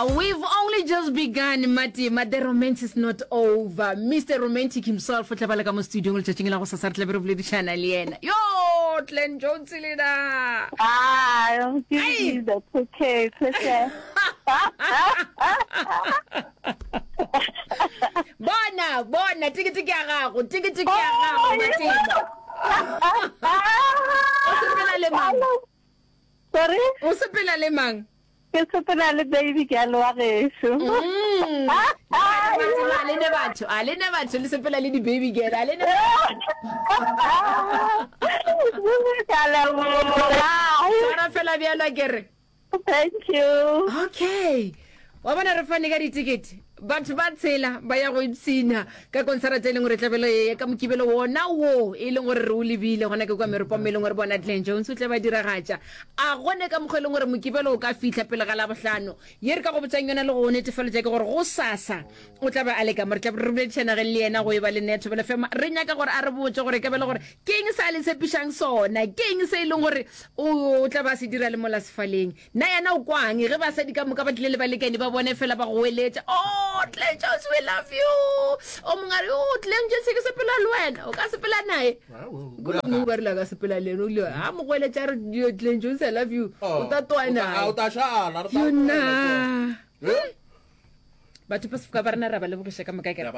We've only just begun, Matima. The romance is not over. Mr. Romantic himself o tla ba le ka mo studiong letšatšing la go sasa re tla be re boledišana le yena. Yo, Glenn Jones le na. Ah, I'm giving you the okay, okay. Bona, bona, tikete ke ya gago, tikete ke ya gago, Matima. O sepela le mang? Sorry? O sepela le mang? Ke sepela le baby girl wa gešo. Mm. A le ne batho, a le ne batho le sepela le di baby girl, a le ne. Tshwara fela bjalo ke re. Thank you. Okay. Wa bona re fane ka ditikete. Batho ba tshela ba ya go ipshina ka konsarata e leng gore tlabelo ye ka mokibelo wona wo e leng gore re o lebile gona ke kwa meropong e leng gore bona Glen Jones o tle ba diragatša. A gone ka mokgwa e leng gore mokibelo o ka fihla pele ga Labohlano. Ye re ka go botšang yona le go go netefaletša ke gore gosasa o tla be a le ka mo. Re tla be re boledišana ge le yena go e ba le nna ya Thobela FM. Re nyaka gore a re botše gore e ka be e le gore ke eng se a le tshepišang sona, ke eng se e leng gore o tla ba a se dira le mola sefaleng. Na yena o kwang ge basadi ka moka ba tlile le balekane ba bone fela ba goeletša, Oh, Glen Jones, we love you! O mongwe a re, Oh, Glen Jones, ke sepela le wena. O ka sepela naye? Kore mongwe ba rile a ka sepela le yena. O ile a mo goeletša a re, Yo, Glen Jones, I love you. O ta toa naye. Yona. Batho ba sefoka ba rena ra ba lebogiša ka moka kere.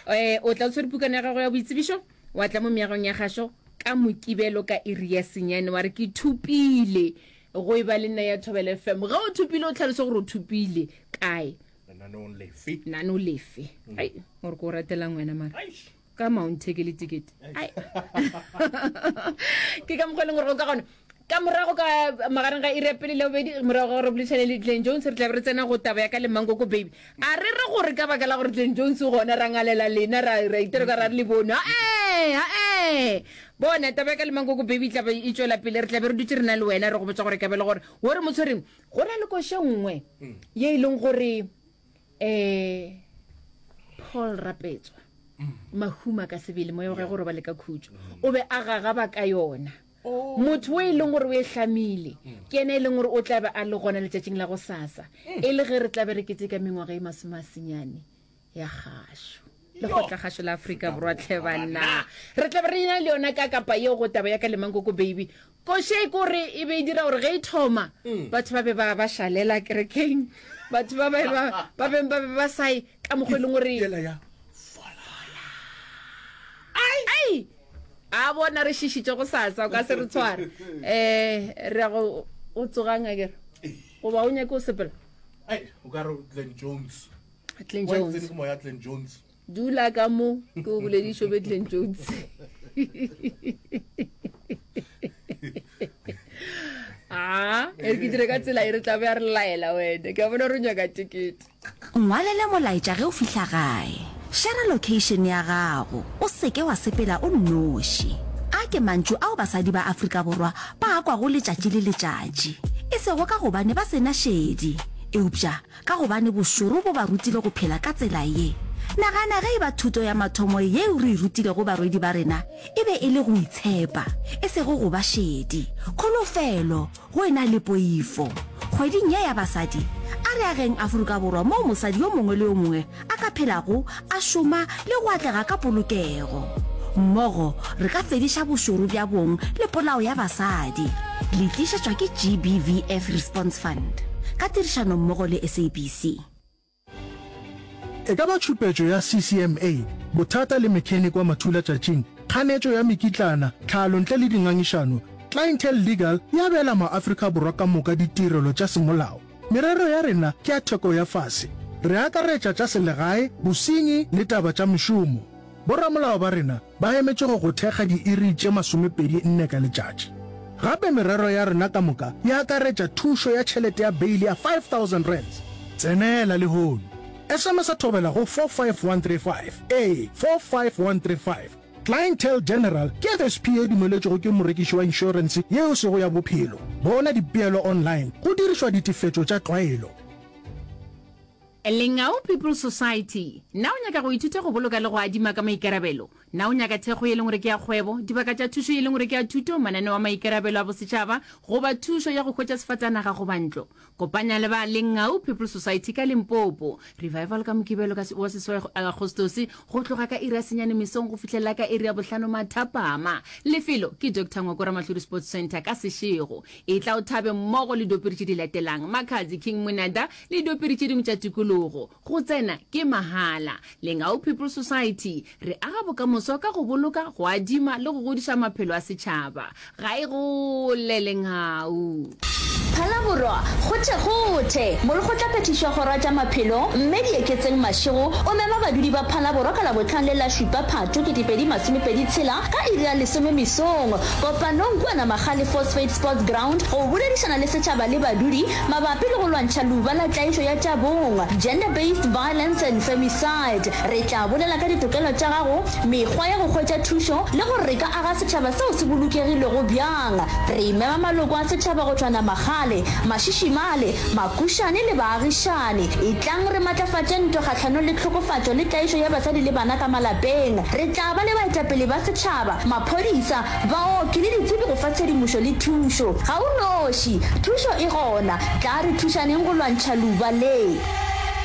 Eh, o tla o tshwere pukana ya gago ya boitsebišo wa tla mo meagong ya gašo ka mokibelo ka iri ya senyane wa re ke thupile Go e ba le nna ya Thobela FM. Ge o thopile o tlhalose gore o thopile kae. Lenaneong lefe? Lenaneo lefe. Mm. Ai, gore ke o ratelang wena mara. Ka ma o nthekele ticket. Ai. Ke ka mokgwa e leng gore go ka gona. Ka morago ka magareng ga iri ya pele le bobedi morago ga gore boledišane le Glen Jones re tla be re tsena go taba ya ka le Mankoko Baby. A re re gore ka baka la gore Glen Jones o gona ra ngalela lena ra ra itira ka ra re le bone. Ae, ae. Bona, taba ya ka le Mankoko Baby e tla be e tšwela pele. Re tla be re dutše re na le wena re go botša gore e ka be le gore wo re mo tshwereng. Go na le koša nngwe ye e leng gore um Paul Rapetswa, Mahuma ka sebele, moya wa gagwe o robale ka khutšo, o be a gagaba ka yona. Motho o e leng gore o e hlamile ke yena e leng gore o tla be a le gona letšatšing la gosasa e le ge re tla be re keteka mengwaga e masomeasenyane ya kgašo lekgotlakgašo la Afrika Borwa tlhe banna re tla be re ena le yona ka kapa yeo go taba ya ka le Mankoko Baby koše e kore e be e dira gore ge e thoma mm. batho ba be ba ba šalela kerekeng batho ba ba ba beng ba be ba sae ka mokgwa e leng gore ai a bona re šišitše go sasa o ka se re tshware um re ya go o tsogang a kere goba o nyake o sepela o ka re Glenn Jones Glenn Jones. Tsene ke moya Glenn Jones. Dula ka mo ke o boledišo be Glenn Jones. Ah, e re ke dire ka tsela e re tla be a re laela wena. Ke a bona gore o nyaka tekete. Ngwalele molaetša ge o fihla gae. Shera location ya gago. O se ke wa sepela o nnoši. A ke mantšu ao basadi ba Afrika Borwa ba a kwago letšatši le letšatši. E sego ka gobane ba se na šedi, eupša Ka gobane bošoro bo ba rutile go phela ka tsela ye. Nagana ge e ba thuto ya mathomo yeo re e rutilego barwedi ba rena e be e le go itshepa, e sego go ba šedi, kholofelo go e na le poifo. Kgweding ye ya Basadi, a re ageng Afrika Borwa moo mosadi yo mongwe le yo mongwe a ka phelago, a šoma le go atlega ka polokego. Mmogo re ka fediša bošoro bja bong le polao ya basadi. Le tlišetšwa ke GBVF Response Fund ka tirišanommogo le SABC. E ka ba tšhupetšo ya CCMA, bothata le mechanic wa mathulatšatšing, kganetšo ya mekitlana, tlhalo ntle le dingangišano, Clientele Legal e abela maAfrika Borwa ka moka ditirelo tša semolao. Merero ya rena ke ya theko ya fase. Re akaretša tša selegae, bosenyi le taba tša mešomo. Boramolao ba rena ba emetše go go thekga diiri tše 24 ka letšatši. Gape merero ya rena ka moka e akaretša thušo ya tšhelete ya beili ya R5000. Tsenela lehono. SMS-a Thobela go 45135. Ee, 45135. Clientele General ke FSP ye dumeletšwego ke morekiši wa inšorense ye e sego ya bophelo. Bona dipeelo online go dirišwa ditefetšo tša tlwaelo. Lengau People's Society, Na o nyaka go ithuta go boloka le go adima ka maikarabelo? Na o nyaka thekgo ye leng gore ke ya kgwebo, dibaka tša thušo ye leng gore ke ya thuto, mananeo a maikarabelo a bosetšhaba goba thušo ya go hwetša sefatanaga goba ntlo? Kopanya le ba Lengau People's Society ka Limpopo. Revival ka Mokibelo ka wa seswai Agostose go tloga ka iri ya senyane mesong go fihlelela ka iri ya bohlano mathapama. Lefelo ke Doctor Ngwako Ramahlodi Sports Centre ka Seshego. Etla o thabe mmogo le diopedi tše di latelang, Makhadzi, King Monada le diopedi tše dingwe tša tikologo. Go tsena ke mahala. Lengau People's Society, re aga bokamoso ka go boloka, go adima le go godiša maphelo a setšhaba. Ga e gole Lengau. Phalaborwa, Kgothekgothe! Molekgotlaphethiši wa Kgoro ya tša Maphelo, Mme Dieketseng Mashego, o mema badudi ba Phalaborwa ka Labohlano le la šupa Phatho 2026 ka iri ya lesome mesong kopanong kua Namagale Phosphate Sports Ground go boledišana le setšhaba le badudi Mabapi le go lwantšha leuba la tlaišo ya tša bong, Gender Based Violence and Femicide, re tla bolela ka ditokelo tša gago, mekgwa ya go hwetša thušo le gore re ka aga setšhaba seo se bolokegilego bjang. Re mema maloko a setšhaba go tšwa Namagale, Mašišimale, Makušane le baagišani. Etlang re matlafatše ntwa kgahlanong le tlhokofatšo le tlaišo ya basadi le bana ka malapeng. Re tla ba le baetapele ba setšhaba, maphodisa, Baoki le ditsebi go fa tshedimošo le thušo. Ga o noši. Thušo e gona. Tlaa re thušaneng go lwantšha leuba le.